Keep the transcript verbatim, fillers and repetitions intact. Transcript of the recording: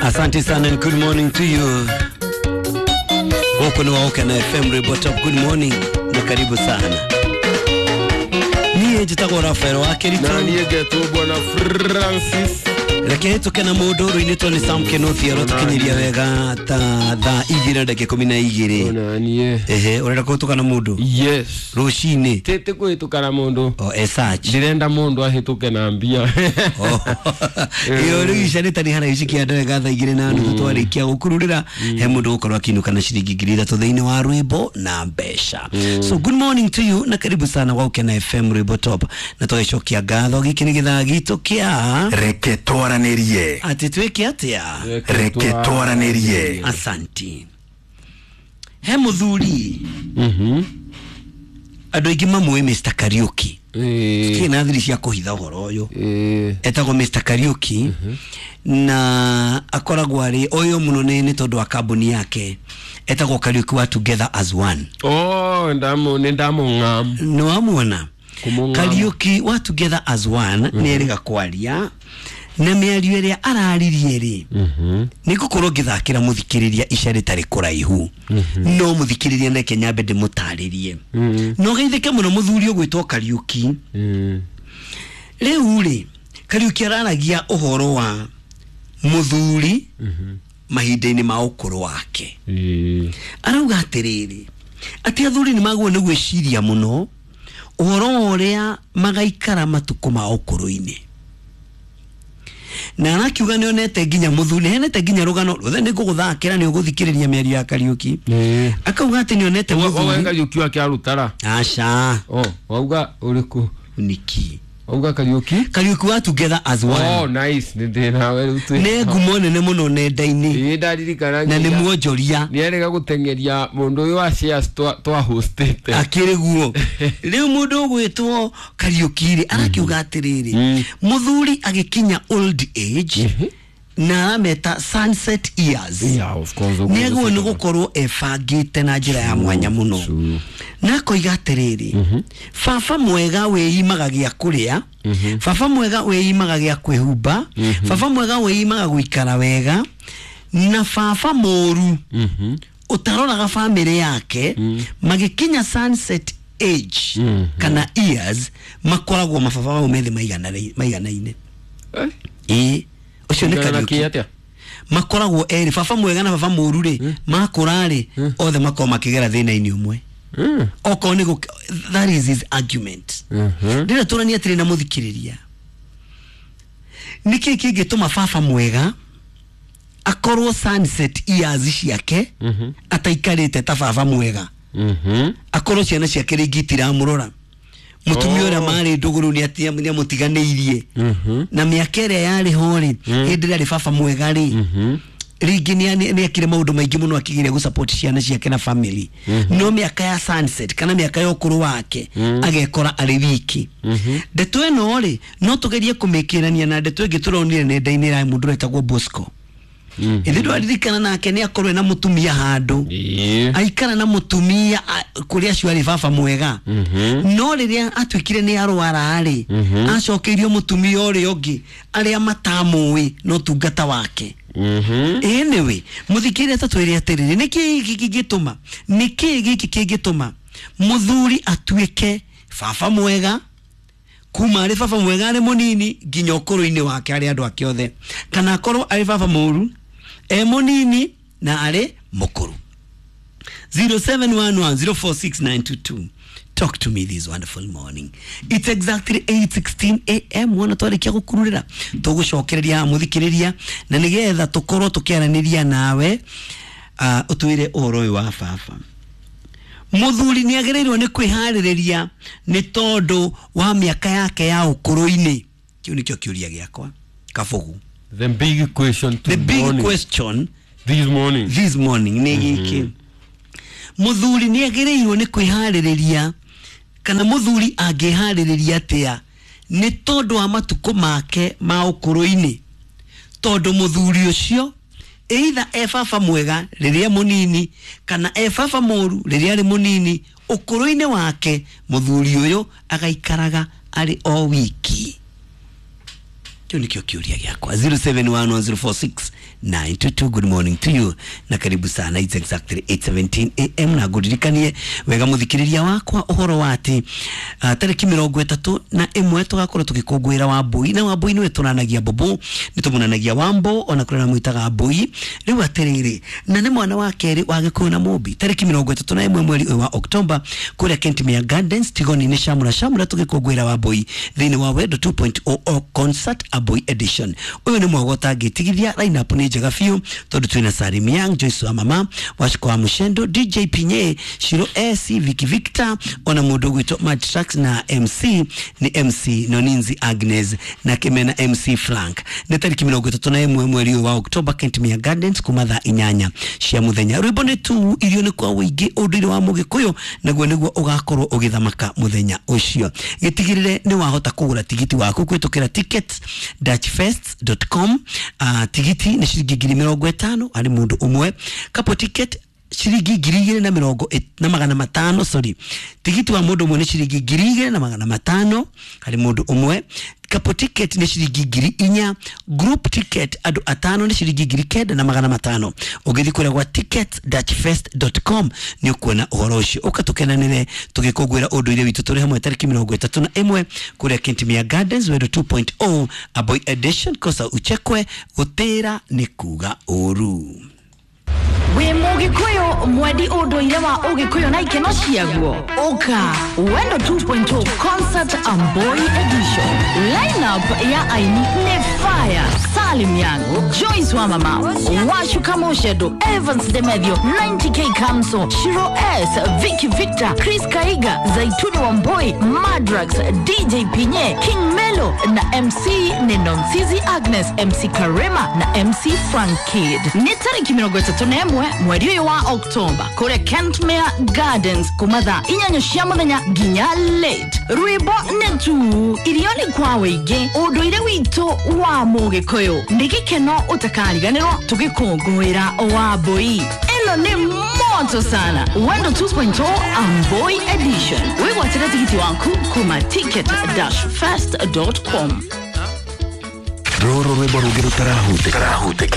Asante sana and good morning to you. Huku ni Waoka na F M Report up. Good morning na karibu sana. Niĩ njĩtagwo Rafael wa Keritu. Na niĩ ngetwo Bwana Francis. Reke tuke na mũndũ rũinĩtwo nĩ Sam Kenothi arotũkinyĩria wega ta thaa igĩrĩ na ndagĩka ikũmi na igĩrĩ. Ona niĩ. Ehe, ũrenda kũhĩtũka na mũndũ? Yes. Rũcinĩ. Tete kũhĩtũka na mũndũ. O, as such. Ndĩrenda mũndũ ahĩtũke na mbia. Ĩyo rĩu ica nĩ tani haraihu cikianda wega thaa igĩrĩ na nuthu twarĩkia gũkururĩra he mũndũ gũkorwo akĩinũka na ciringi ngiri ithatũ thĩinĩ wa rwĩmbo na mbeca. So good morning to you na karibu sana Waoka na F M Rwĩmbo Top. Na tũgĩcokia ngatho gĩkĩ nĩ gĩthaa gitũ kĩa Reke twaranĩrie. Atĩ twĩke atĩa? Reke twaranĩrie. Asanti. He mũthuri. Mhm. Andũ aingĩ mamũĩ Mister Kariuki. Eh. Kĩ na thiri cia kũhitha ũhoro ũyũ. Eh. Etagwo Mister Kariuki na akoragwo arĩ ũyũ mũno nĩ nĩ tondũ wa kambuni yake. Etagwo Kariuki wa Together as One. Oh, ndamu nĩ ndamũng'am. Nĩ wamuona? Kũmũng'am. Kariuki wa Together as One nĩ erĩga kwaria na mĩario ĩrĩa araririe rĩ nĩ ngũkorwo ngĩthakĩra mũthikĩrĩria ica rĩtarĩ kũraihu no mũthikĩrĩria neke nyambe ndĩmũtarĩrie no geithĩke mũno mũthuri ũgwĩtwo Kariuki. Rĩu rĩ Kariuki araragia ũhoro wa mũthuri mahinda-inĩ ma ũkũrũ wake. Arauga atĩrĩrĩ atĩ athuri nĩ magwo nĩ gwĩciria mũno ũhoro wa ũrĩa magaikara matukũ ma ũkũrũ-inĩ. Na arakiuga nĩ onete nginya mũthuri, henete nginya rũgano rũthe nĩ ngũgũthakĩra nĩ ũgũthikĩrĩria mĩario ya Kariuki. Akauga atĩ nĩ onete mũthuri. Owe Kariuki wake arutara. Aca. Oh, wauga ũrĩkũ? Niki. Wauga Kariuki? Kariuki wa Together as One. Oh, nice. Nĩ ndĩ nawe rĩu twĩ. Nĩ ngumo nene mũno nenda-inĩ. Ĩĩ ndaririkana. Na nĩ mwonjoria. Nĩ erĩga gũteng'eria mũndũ ũyũ wa shares twa twa hostĩte. Akĩrĩ guo. Rĩu mũndũ ũgwĩtwo Kariuki rĩ arakiuga atĩrĩrĩ mũthuri agĩkinya old age na arameta sunset years. Yeah, of course. Nĩ agwo nĩ gũkorwo ebangĩte na njĩra ya mwanya mũno. Na akoiga atĩrĩrĩ baba mwega wĩimaga gĩa kũrĩa, baba mwega wĩimaga gĩa kwĩhumba, baba mwega wĩimaga gũikara wega, na baba mũru ũtaroraga bamĩrĩ yake magĩkinya sunset age kana years makoragwo mababa mau methĩ maiganaine. Ĩĩ ũcio nĩ Kariuki. Makoragwo erĩ baba mwega na baba mũru rĩ makũra rĩ othe makoragwo makĩgera thĩna-inĩ ũmwe. Okorwo nĩ that is his argument. Ndĩrenda tũranie atĩrĩ na mũthikĩrĩria nĩkĩĩ kĩngĩtũma baba mwega akorwo sunset years ciake ataikarĩte ta baba mwega, akorwo ciana ciake rĩngĩ itiramũrora, mũtumia ũrĩa marĩ ndũgũrũ nĩ amũtiganĩirie na mĩaka ĩrĩa yarĩ ho rĩ hĩndĩ ĩrĩa arĩ baba mwega rĩ rĩngĩ nĩ ekire maũndũ maingĩ mũno akĩgeria gũ support ciana ciake na family, no mĩaka ya sunset kana mĩaka ya ũkũrũ wake agekora arĩ wiki. Ndeto ĩno rĩ no tũgerie kũmĩkĩrania na ndeto ĩngĩ tũronire nenda-inĩ ya mũndũ ũretagwo Bosco. Ithe ndwaririkana nake nĩ akorwo na mũtumia handũ aikara na mũtumia kũrĩa acio arĩ baba mwega, no rĩrĩa atuĩkire nĩ arwara rĩ acokeirio mũtumia ũrĩa ũngĩ arĩa matamũĩ no tungata wake. Anyway, mũthikĩrĩria ta twĩre atĩrĩrĩ nĩkĩĩ gĩkĩ kĩngĩtũma nĩkĩĩ gĩkĩ kĩngĩtũma mũthuri atuĩke baba mwega kuma arĩ baba mwega arĩ mũnini nginya ũkũrũ-inĩ wake arĩ andũ ake othe, kana akorwo arĩ baba mũru e mũnini na arĩ mũkũrũ. zero seven one one zero four six nine two two. Talk to me this wonderful morning. It's exactly eight sixteen A M Wona twarĩkia gũkururĩra tũgũcokereria mũthikĩrĩria na nĩgetha tũkorwo tũkĩaranĩria nawe ũtwĩre ũhoro ũyũ wa baba. Mũthuri nĩ agĩrĩirwo nĩ kwĩharĩrĩria nĩ tondũ wa mĩaka yake ya ũkũrũ-inĩ. Kĩu nĩkĩo kĩũria gĩakwa Kabugu. The big question The big morning. question this morning. This morning nĩ gĩkĩ. Mũthuri nĩ agĩrĩirwo nĩ kwĩharĩrĩria kana mũthuri angĩharĩrĩria atĩa nĩ tondũ wa matukũ make ma ũkũrũ-inĩ, tondũ mũthuri ũcio either e baba mwega rĩrĩa mũnini kana e baba mũru rĩrĩa arĩ mũnini, ũkũrũ-inĩ wake mũthuri ũyũ agaikaraga arĩ o wiki. Kĩu nĩkĩo kĩũria gĩakwa. zero seven one one zero four six nine two two. Good morning to you na karibu sana. It's exactly eight seventeen A M na ngũririkanie wega mũthikĩrĩria wakwa ũhoro wa atĩ uh, tarĩki mĩrongo ĩtatũ na ĩmwe tũgakorwo tũgĩkũngũĩra Wambũi, na Wambũi nĩwe tũnanagia Bobo, nĩ tũmunanagia Wambo, ona kũrĩ na mwĩtaga Mbũi. Rĩu atĩrĩrĩ, na nĩ mwana wa kerĩ wa Gĩkũyũ na Mũmbi, tarĩki mĩrongo ĩtatũ na ĩmwe mweri ũyũ wa Oktoba kũrĩa Kentimere Gardens Tigoni-inĩ Shamra Shamra, tũgĩkũngũĩra Wambũi thĩinĩ wa Wendo two point oh concert Aboi edition. Ũyũ nĩ mwago ũtangĩtigithia. Line up nĩ njega biũ tondũ twĩna Salim Young, Joyce wa Mama, Wachiko wa Mushendo, D J Pinye, Shiro S, Vicky Victor, ona mũndũ ũgwĩtwo Mad Tracks, na M C nĩ M C Noninzi Agnes na Kimena M C Frank. Nĩ tarĩki mĩrongo ĩtatũ na ĩmwe mweri ũyũ wa Oktoba, Kentimere Gardens, kuma thaa inyanya cia mũthenya. Rwĩmbo nĩ tu, irio nĩ kwa ũingĩ, ũndũire wa Mũgĩkũyũ naguo nĩguo ũgakorwo ũgĩthamaka mũthenya ũcio. Gĩtigĩrĩre nĩ wahota kũgũra tigiti waku kũhĩtũkĩra tickets dash fest dot com. Uh, tigiti nĩ ciringi ngiri mĩrongo ĩtano harĩ mũndũ ũmwe, couple ticket ciringi ngiri igĩrĩ na mĩrongo na magana matano, sorry, tigiti wa mũndũ ũmwe nĩ ciringi ngiri igĩrĩ na magana matano harĩ mũndũ ũmwe, couple ticket nĩ ciringi ngiri inya, group ticket andũ atano nĩ ciringi ngiri kenda na magana matano. Ũngĩthiĩ kũrĩa gwa tickets dash fest dot com nĩ ũkuona ũhoro ũcio. Ũka tũkenanĩre tũgĩkũngũĩra ũndũire witũ tũrĩ hamwe tarĩki mĩrongo ĩtatũ na ĩmwe kũrĩa Kentimere Gardens, Wendo two point oh Aboy edition. Kosa uchekwe, gũtĩra nĩ kuga ũru. Wĩ Mũgĩkũyũ mwendi ũndũire wa Ũgĩkũyũ na ikeno ciaguo, ũka Wendo two point oh concert Amboi edition. Lineup ya aini nĩ fire: Salim Young, Joyce wa Mama, Washuka Moshedo, Evans Demethio, ninety K Kamso, Shiro S, Vicky Victor, Chris Kaiga, Zaituni Wamboi, Madrax, D J Pinye, King Melo na M C ni Nonsizi Agnes, M C Karema na M C Frank Kid. Nĩ tarĩki mĩrongo ĩtatũ na ĩmwe mweri ũyũ wa Oktoba kũrĩa Kentimere Gardens, kuma thaa inyanya cia mũthenya nginya late. Rwĩmbo nĩ tu, irio nĩ kwa wĩingĩ, ũndũire witũ wa Mũgĩkũyũ nĩ gĩkeno ũtakariganĩrwo tũgĩkũngũĩra Wambũi. Ĩno nĩ moto sana. Wendo two point oh Amboi edition. Wĩgwatĩre tigiti waku kuma ticket dash fest dot com. Rũrũ rwĩmbo rũngĩ rũtarahutĩka.